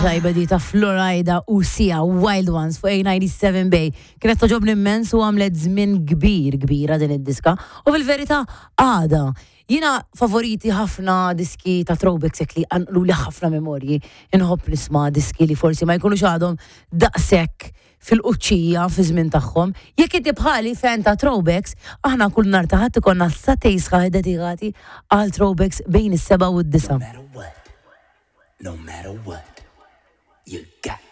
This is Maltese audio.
Tajba di ta' Florida u Sia Wild Ones fuq A97 Bay. Kienet togħġobni immens u għamlet żmien kbir kbira din id-diska. U fil-verità għada. Jiena favoriti ħafna diski ta' throwbacks hekk li qanqlu li ħafna memorji. Inħobb nisma' diski li forsi ma jkunux għadhom daqshekk fil-quċċija fi żmien tagħhom. Jekk inti bħali fan ta' throwbacks, aħna kull nhar ta' Ħadd ikollna sagħtejn sħaħ iddedikati għal throwbacks bejn is-sebgħa u d-disgħa. No matter what, no matter what, you got.